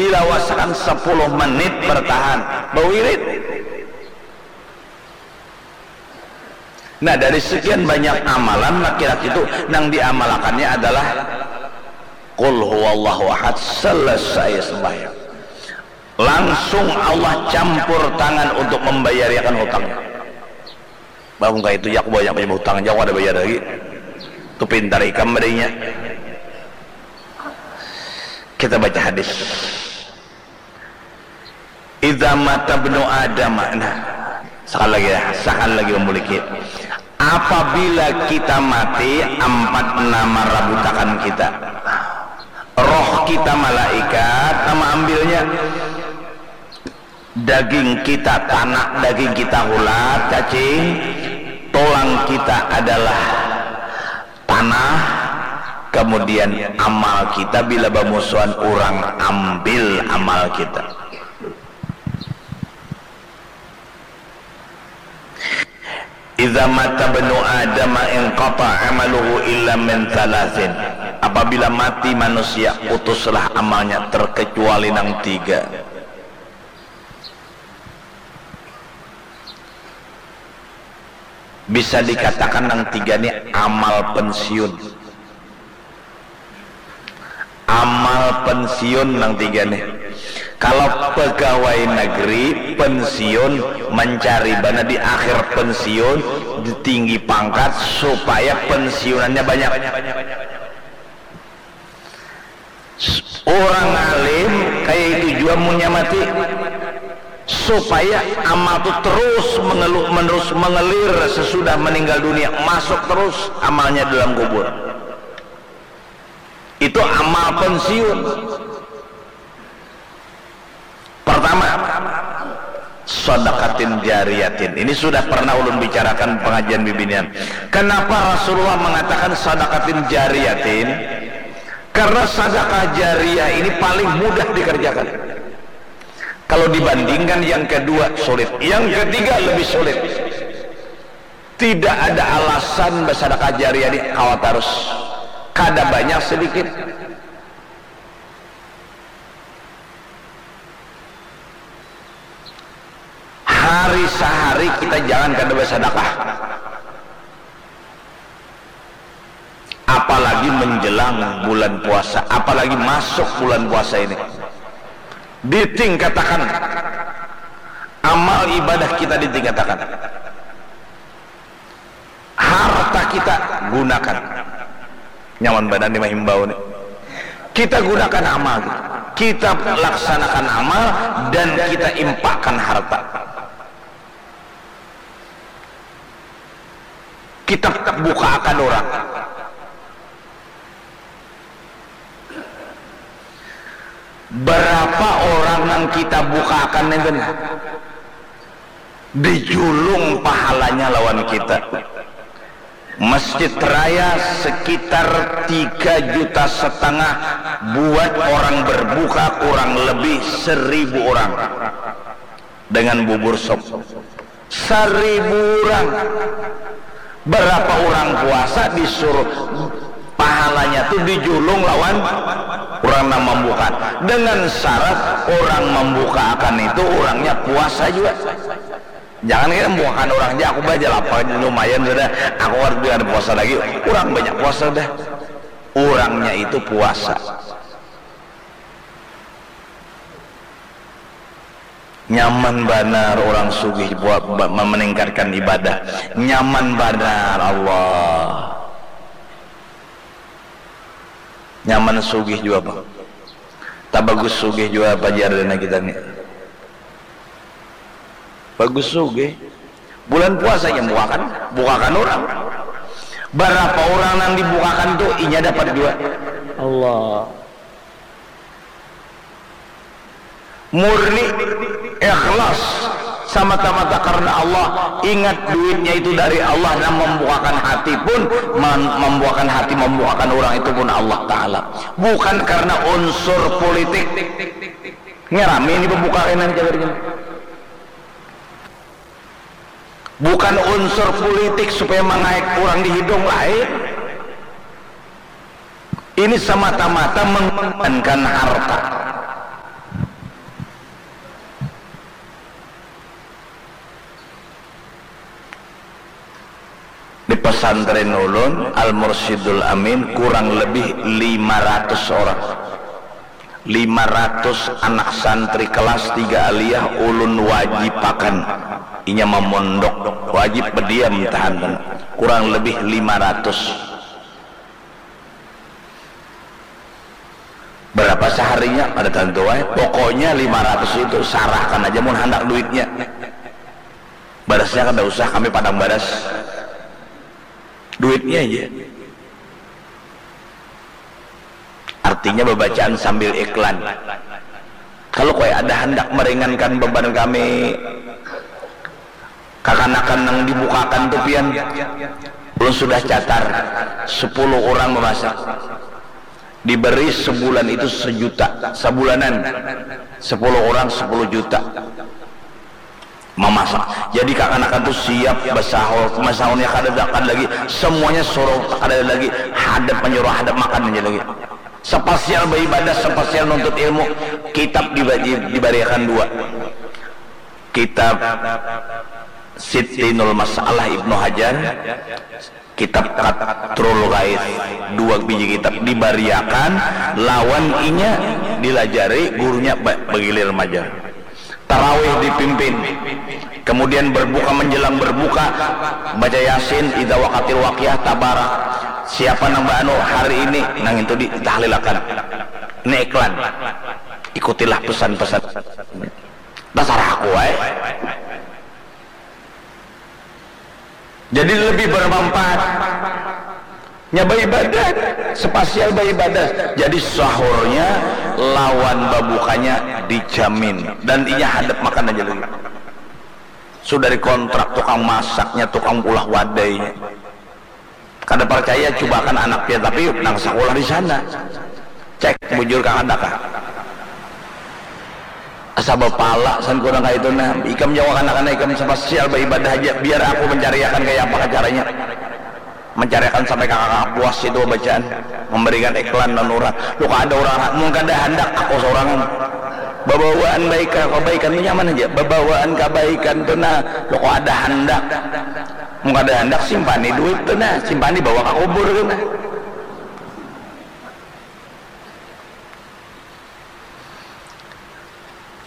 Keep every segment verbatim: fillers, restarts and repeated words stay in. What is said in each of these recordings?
dilawasakan sepuluh menit bertahan, bawirid. Nah, dari sekian banyak amalan laki-laki itu nang diamalakannya adalah Qul huwallahu ahad, selesai sembahyang. Langsung Allah campur tangan untuk membayariakan hutangnya. Bah, mun kaitu ja aku banyak punya hutang ja, aku kada bayar lagi. Tu pintar ikam badainya. Kita baca hadis. Idza mata ibnu Adam. Nah, sekali lagi ya, sekali lagi memuliki. Apabila kita mati, ampat nama rabutakan kita. Roh kita malaikat nama ambilnya. Daging kita tanak, daging kita hulat, cacing, tulang kita adalah tanah, kemudian amal kita bila bamusuhan urang ambil amal kita. Idza mata ibnu Adam inqata amaluhu illa min thalathin. Apabila mati manusia, putuslah amalnya terkecuali nang tiga. Bisa dikatakan nang tiga ni amal pensiun. Amal pensiun nang tiga ni. Kalau pegawai negeri pensiun, mencari bana di akhir pensiun, di tinggi pangkat supaya pensiunannya banyak. Orang alim kaya itu jua munnya mati, supaya amal tu terus mengelu-, menerus mengelir sesudah meninggal dunia, masuk terus amalnya dalam kubur. Itu amal pensiun. Pertama, sadaqatin jariyatin. Ini sudah pernah ulun bicarakan pengajian bibinian. Kenapa Rasulullah mengatakan sadaqatin jariyatin? Karena sadaqah jariyah ini paling mudah dikerjakan. Kalau dibandingkan yang kedua sulit, yang ketiga lebih sulit. Tidak ada alasan bersadaqah jariyah ini kawa tarus. Kada banyak sedikit. Hari sahari kita jangan kada bersadaqah. Apalagi menjelang bulan puasa, apalagi masuk bulan puasa ini. Ditingkatakan amal ibadah kita, ditingkatakan. Harta kita gunakan. Nyaman banar ni mahimbau ni. Kita gunakan amal kita. Kita laksanakan amal dan kita impakkan harta. Kita bukaakan orang. Berapa orang nang kita bukaakan itu nah, dijulung pahalanya lawan kita. Masjid Raya sekitar tiga juta setengah buat orang berbuka, kurang lebih seribu orang dengan bubur sop. Seribu orang. Berapa orang puasa disuruh pahalanya tu dijulung lawan orang nang membuka, dengan syarat orang membuka akan itu orangnya puasa juga. Jangan kita membukakan orang aja, aku baca lapar lumayan sudah, aku harus biar puasa lagi. Orang banyak puasa sudah. Orangnya itu puasa. Nyaman banar orang sugih buat ba-, meningkatkan ibadah. Nyaman banar Allah. Nyaman sugih jua, Bang. Tak bagus sugih jua pajar dana kita ni. Bagus sugih. Bulan puasa yang bukakan, bukakan orang. Berapa orang yang dibukakan tu inya dapat jua. Allah. Murni, ikhlas, semata-mata karena Allah. Ingat, duitnya itu dari Allah, dan membukakan hati pun, mem-, membukakan hati, membukakan orang itu pun Allah Ta'ala. Bukan karena unsur politik. Ngerami ini pembukaan ini. Bukan unsur politik supaya mangaik urang di hidung, lain. Ini semata-mata mengorbankan harta. Di pesantren ulun, Al Mursyidul Amin, kurang lebih lima ratus orang. Lima ratus anak santri kelas tiga aliyah ulun wajibakan. Inya mamondok, wajib bediam tahan. Kurang lebih lima ratus. Berapa seharinya? Kada tentu ai. Pokoknya lima ratus itu, sarahkan aja mun handak duitnya. Barasnya kada usah, kami padang baras. Duitnya aja. Artinya babacaan sambil iklan. Kalau kaya ada handak meringankan beban kami, kakanakan nang dibukakan tu pian, ulun sudah catat, sepuluh urang memasak. Diberi sebulan itu sejuta, sabulanan, sepuluh urang sepuluh juta mamasak. Jadi kakanakan tu siap basahur, masahurnya kadada, kada lagi, semuanya suruh, kadada lagi, hadap manyuruh hadap makan aja lagi. Sapasial baibadah, sapasial nuntut ilmu, kitab diba-, di-, dibariakan dua. Kitab Sittinul Masalah Ibnu Hajar, kitab Qatrul Ghaith, dua biji kitab dibariakan, lawan inya dilajari, gurunya ba-, bagilir majar. Tarawih dipimpin, kemudian berbuka, menjelang berbuka, baca Yasin, Idza Waqatil Waqiah, Tabarak. Siapa nang baanu hari ini, nang itu di-, ditahlilakan. Ini iklan. Ikutilah pesan-pesan. Tasarah aku ai. Jadi lebih bermanfaat. Nya baibadah, sapasial baibadah. Jadi sahurnya lawan babukanya dijamin. Dan inya hadap makan aja lagi. Sudah dikontrak tukang masaknya, tukang ulah wadainya. Kada parcaya, cubakan anak pian, tapi nang sakulah di sana. Cek, bujur kah kada kah? Asa bapala san kurang kaitu nah. Ikam jauh kanak-kanak, ikam sapasial baibadah haja. Biar aku mancariakan kaya apa caranya. Mancariakan sampai kakak puas itu bacaan. Memberikan iklan lawan urang. Lu kada urang, mun kada handak aku saurangan. Babawaan baik, kabaikan tu nyaman haja. Babawaan kabaikan tu nah, lu kada handak. Mun kada handak, simpani duit tu nah, simpani bawa ka kubur tu nah.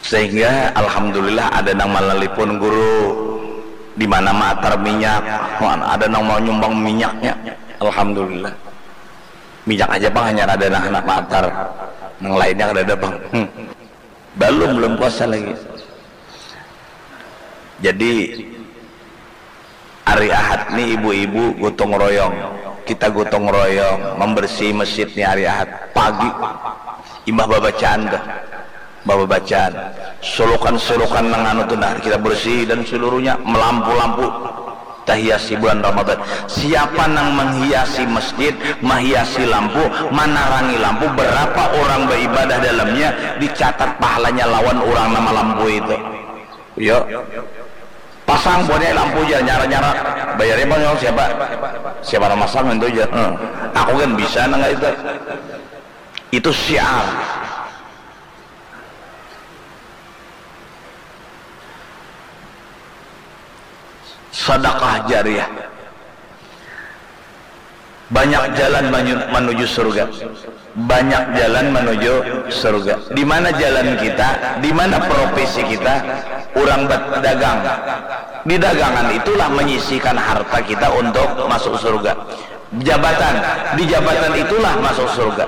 Sehingga alhamdulillah ada nang manalipun guru, di mana maatar minyak, ada nang mau nyumbang minyaknya, alhamdulillah. Minyak aja pang hanyar ada nang handak maatar, nang lainnya kadada pang. Hmm. Balum, balum puasa lagi. Jadi, hari Ahad ni ibu-ibu gotong royong. Kita gotong royong membersihi masjid ni hari Ahad. Pagi, imbah babacaan tuh. Imbah babacaan. Sulukan-sulukan nang anu tuh, nah, kita bersihi dan seluruhnya, melampu-lampu. Tahiasi bulan Ramadan. Siapa nang menghiasi masjid, mahiasi lampu, manarangi lampu, berapa orang baibadah dalamnya, dicatat pahalanya lawan urang nang malampui itu. Yo. Pasang buhannya lampu ja, nyara-nyara. Bayarnya bang, siapa? Siapa nang masang itu ja. Hmm. Aku kan bisa nang itu. Itu syiar. Sadakah jariah. Banyak jalan manyu-, manuju surga. Banyak jalan manuju surga. Di mana jalan kita? Di mana profesi kita? Urang badagang. Di dagangan itulah menyisihkan harta kita untuk masuk surga. Jabatan. Di jabatan itulah masuk surga.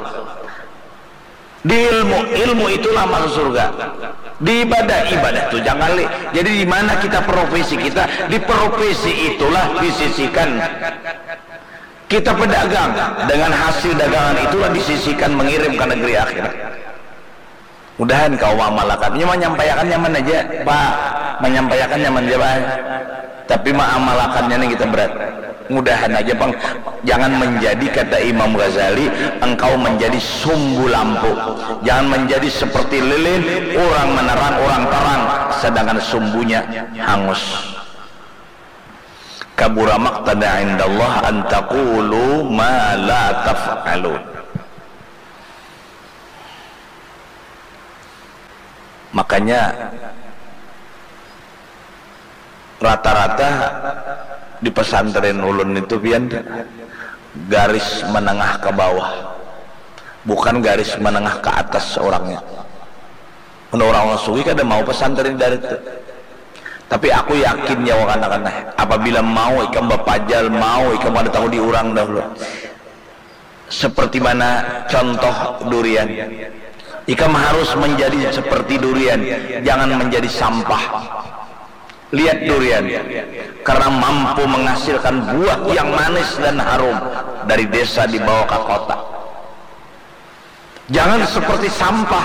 Di ilmu, ilmu itulah masuk surga. Di ibadah, ibadah tu jangan li-, jadi di mana kita profesi kita, di profesi itulah disisihkan. Kita pedagang, dengan hasil dagangan itulah disisihkan mengirim ke negeri akhirat. Mudahan kau maamalakan. Ini manyampaiakan nyaman aja, Pak. Manyampaiakan nyaman aja, Pak. Tapi maamalakannya ni kita berat. Mudahan aja pang, jangan menjadi, kata Imam Ghazali, engkau menjadi sumbu lampu. Jangan menjadi seperti lilin, orang menerang, orang terang, sedangkan sumbunya hangus. Kabura maqtan indallah an taqulu ma la taf'alun. Makanya rata-rata Di pesantren ulun itu pian garis menengah ke bawah, bukan garis menengah ke atas orangnya. Mun orang-orang sugih kada mau pesantren dari itu. Tapi aku yakin ya, wakanakan, apabila mau ikam bapajal, mau ikam kada tahu di urang dahulu. Seperti mana contoh durian? Ikam harus menjadi seperti durian, jangan menjadi sampah. Lihat durian, karena mampu menghasilkan buah yang manis dan harum dari desa dibawa ke kota. Jangan seperti sampah,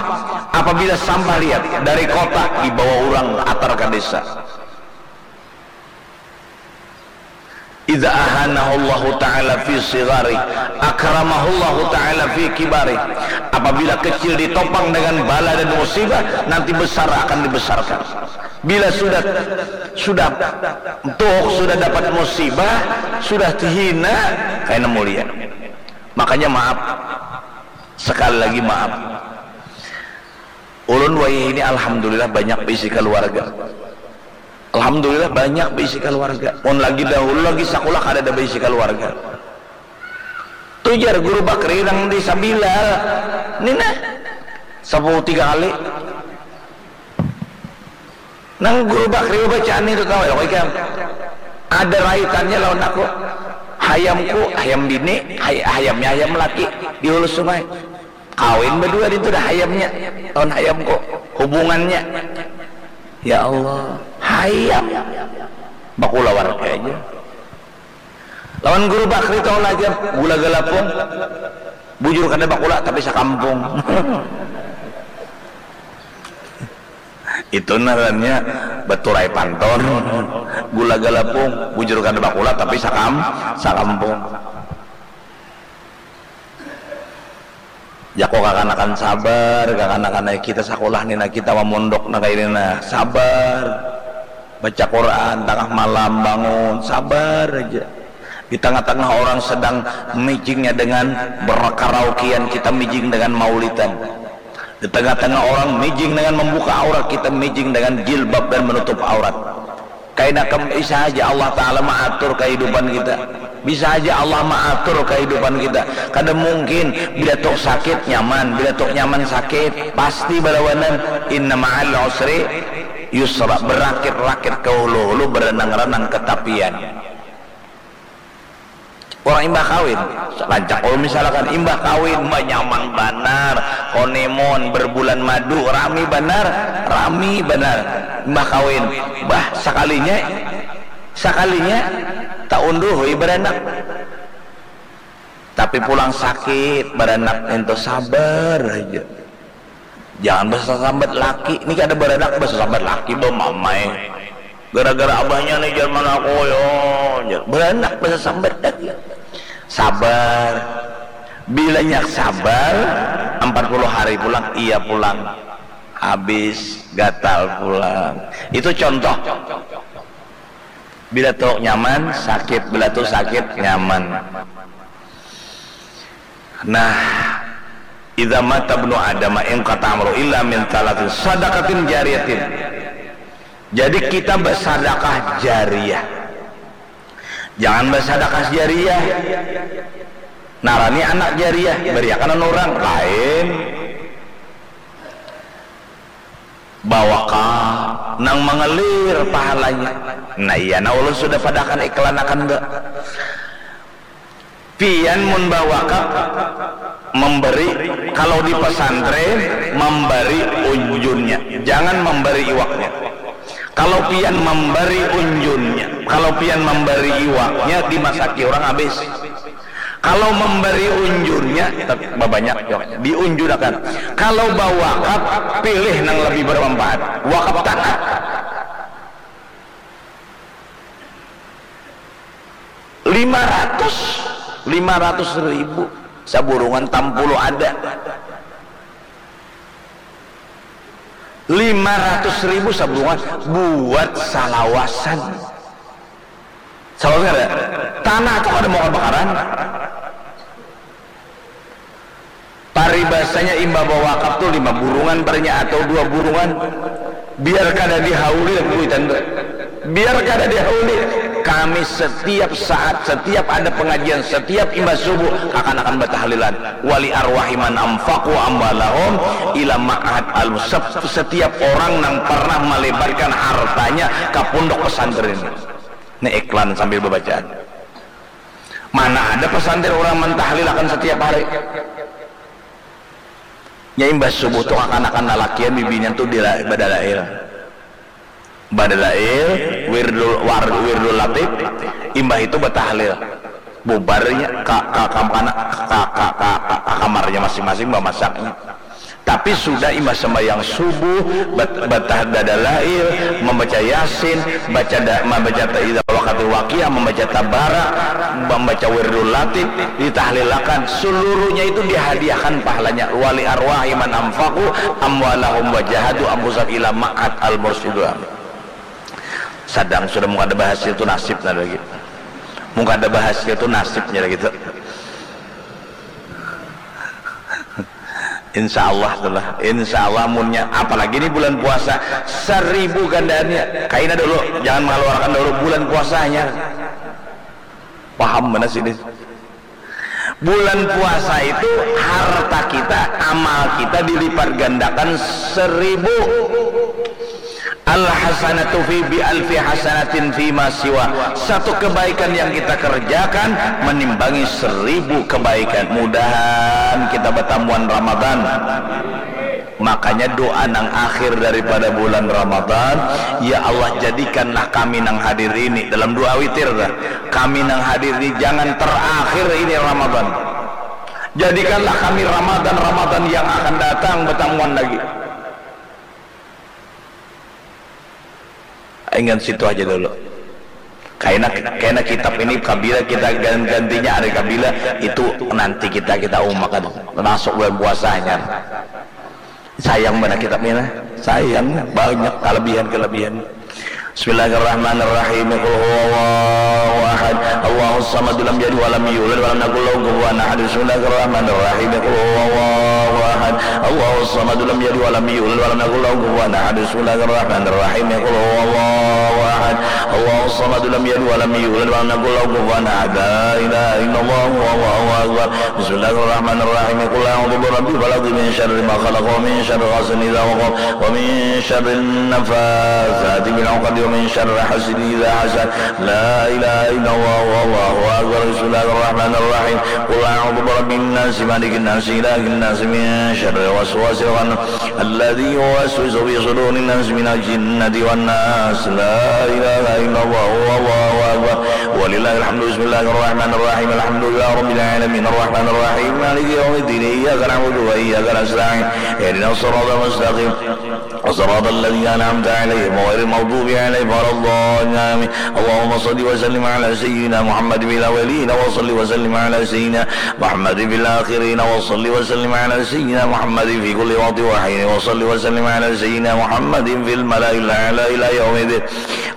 apabila sampah, lihat, dari kota dibawa orang atar ke desa. Idza ahanahullahu ta'ala fi sigari, akramahullahu ta'ala fi kibari. Apabila kecil ditopang dengan bala dan musibah, nanti besar akan dibesarkan. Bila sudah, sudah tuh, sudah dapat musibah, sudah hina, kaina mulia. Makanya maaf. Sekali lagi maaf. Ulun wayah ini alhamdulillah banyak beisi kaluarga. Alhamdulillah banyak beisi kaluarga. Mun lagi dahulu lagi sakulah kadada beisi kaluarga. Tu jar Guru Bakri nang di Sabilal. Ni nah. Sapuluh tiga kali. Nang Guru Bakri bacaan itu tahu ya, ikam? Ada raitannya lawan aku. Hayamku, hayam bini, hay-, hayamnya hayam laki di hulu sungai. Kawin berdua itu dah hayamnya lawan hayamku. Hubungannya. Ya Allah, hayam. Bakula warga aja. Lawan Guru Bakri tahu lah aja, gula galapung. Bujur kada bakula tapi sakampung. Itu ngarannya baturai panton. Gula galapung, bujur kada bakula tapi sakam, sakampung. Jaku kakanakan sabar, kakanakan ai kita sakulah ni nah, kita mamondok nah kaini nah, sabar. Baca Quran, tangah malam bangun, sabar aja. Di tangah-tangah orang sedang mijingnya dengan berkaraokean, kita mijing dengan maulidan. Di tengah-tengah orang mijing dengan membuka aurat, kita mijing dengan jilbab dan menutup aurat. Kaina kam, bisa haja Allah Ta'ala maatur kahidupan kita. Bisa haja Allah maatur kahidupan kita. Kada mungkin bila tu sakit nyaman, bila tu nyaman sakit, pasti balawanan. Inna ma'al usri yusra, berakit-rakit ke hulu-hulu, berenang-renang ke tapian. Orang imbah kawin, rancak ulun misalkan, imbah kawin, bah, nyaman banar, honeymoon, berbulan madu, rami banar, rami banar. Imbah kawin, bah, sakalinya, sakalinya taunduh, oi, baranak. Tapi pulang sakit, baranak nintu, sabar haja. Jangan basasambat laki. Ni kada baranak basasambat laki, bah, mamai. Gara-gara abahnya ni, jar, mana aku, yo, jar. Baranak basasambat lagi. Sabar. Bilanya sabar, empat puluh hari pulang, iya pulang. Habis, gatal pulang. Itu contoh. Bila tu nyaman, sakit. Bila tu sakit, nyaman. Nah, idza mata ibnu Adam inqata amaluhu illa min thalathin, sadaqatin jariyatin. Jadi kita bersadakah jariah. Jangan bersadakah jariah. Narani anak jariah, bariakan anu urang lain. Bawakaf nang mangalir pahalanya. Nah, iya, nah, ulun sudah padahakan iklanakan, ba. Pian mun bawakaf, memberi, kalau di pesantren, memberi unjunnya, jangan memberi iwaknya. Kalau pian memberi unjunnya, kalau pian memberi iwaknya, dimasaki orang habis. Kalau memberi unjunnya, tet-, babanyak, yo, diunjunakan. Kalau bawakaf, pilih nang lebih bermanfaat. Wakaf tanah. Lima ratus, lima ratus ribu. Saburungan tampulu ada. Lima ratus ribu saburungan buat salawasan. Salawasan kada? Tanah tu kada mau kabakaran. Paribasanya imbah bawakaf tu lima burungan parnya atau dua burungan. Biar kada dihauli lah kuitan tu. Biar kada dihauli. Kami setiap saat, setiap ada pengajian, setiap imbah subuh, kakanakan batahlilan. Wali arwahi man anfaqu amwalahum ila ma'had al sep-, setiap orang nang pernah malebarkan hartanya ka pondok pesantren. Ini iklan sambil babacaan. Mana ada pesantren urang mantahlilakan setiap hari? Nya imbah subuh tu kakanakan lalakian bibinian tu dila-, badalail. Badalail, wirdul, war-, wirdul latif, imbah itu batahlil. Bubarnya ka, ka kampana, ka, ka, ka, ka, ka kamarnya masing-masing bamasaknya. Tapi sudah imbah sembahyang subuh, bat-, batah dadalail, membaca Yasin, baca da-, membaca ta-, idza waqatil waqiah, membaca tabara, membaca wirdul latif, ditahlilakan, seluruhnya itu dihadiahkan pahalanya. Wali arwahi man anfaqu amwalahum wa jahadu anfusahum ila ma'had al mursyidul amin. Sadang sudah mun kada bahasil tu nasibnya lagi. Mun kada bahasil tu nasibnya lagi tu. Insya Allah tu lah. Insya Allah munnya, apalagi ni bulan puasa, seribu gandaannya. Kaina dulu, jangan mengeluarkan dulu bulan puasanya. Paham mana sini? Bulan puasa itu harta kita, amal kita dilipat gandakan seribu. Al hasanatu fi bi alfi hasanatin fi ma siwa. Satu kebaikan yang kita kerjakan menimbangi seribu kebaikan. Mudahan kita batamuan Ramadan. Makanya doa nang akhir daripada bulan Ramadan, ya Allah, jadikanlah kami nang hadir ini, dalam doa witir dah, kami nang hadir ini jangan terakhir ini Ramadan. Jadikanlah kami Ramadan-Ramadan yang akan datang batamuan lagi. Ingat situ aja dulu. Kaina, kaina kitab ini kabila kita gan-, gantinya hari kabila, itu nanti kita, kita umakan. Masuk bulan puasanya. Sayang banar kitab ini, nah. Sayang, banyak kelebihan-kelebihan. Bismillahirrahmanirrahim. Qul huwallahu ahad. Allahus samad, lam yalid walam yulad walam yakul lahu kufuwan ahad. Bismillahirrahmanirrahim. Qul huwallahu ahad. Allahus samad, lam yalid walam yulad walam yakul lahu kufuwan ahad. Bismillahirrahmanirrahim. Qul huwallahu ahad. Allahus samad, lam yalid walam yulad walam yakul lahu kufuwan ahad. La ilaha illallah, wallahu akbar. Bismillahirrahmanirrahim. Qul a'udzu birabbil falaq, min syarri ma khalaq, wa min syarri ghasidin idza waqab, wa min syarri nafatsati fil 'uqad, wa min syarri hasidin idza hasad. La ilaha illallah, wallahu akbar. Bismillahirrahmanirrahim. Qul a'udzu birabbin nas, malikin nas, ilahin nas, min syarril waswasil khannas, alladzi yuwaswisu fi sudurin nas minal jinnati wan nas. La ilaha illallah, wallahu akbar. Walillahil hamdu. Bismillahirrahmanirrahim. Alhamdulillahi rabbil alamin. Arrahmanirrahim. Maliki yaumiddin. Iyyaka na'budu wa iyyaka nasta'in. Ihdinas siratal mustaqim. Siratal ladzina an'amta 'alaihim ghairil maghdubi 'alaihim waladdallin. Amin. Allahumma shalli wa sallim 'ala sayyidina Muhammadin fil awwalin wa shalli wa sallim 'ala sayyidina Muhammadin fil akhirin wa shalli wa sallim 'ala sayyidina Muhammadin fi kulli waqtin wa hin wa shalli wa sallim 'ala sayyidina Muhammadin fil mala'il a'la ila yaumiddin.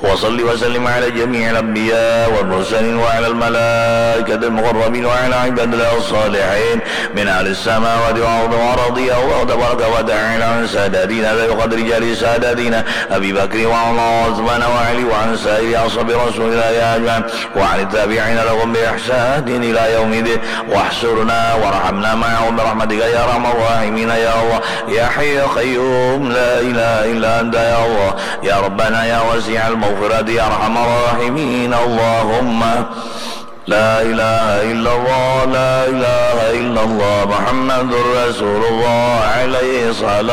Wa shalli wa sallim 'ala jami'il anbiya wal mursalin wa 'alal malaikatil muqarrabin wa 'ala ibadillah as-salihin min ahlis samawati wal ardi wa radiyallahu tabaraka wa ta'ala an sadatina Dzail Qadri Jali Sadatina Abi Bakri wa Umar wa Utsman wa Ali wa an sairi ashabi Rasulillah ajma'in wa 'anit tabi'ina lahum bi ihsanin ila yaumiddin. Wahsyurna warhamna ma'ahum bi rahmatika ya arhamar rahimin ya Allah. Ya Hayyu ya Qayyum, la ilaha illa anta ya Allah. Ya Rabbana ya wasi'al maghfirati ya arhamar rahimin. Allahumma la ilaha illallah, la ilaha illallah, Muhammadur Rasulullah, alaihi salam.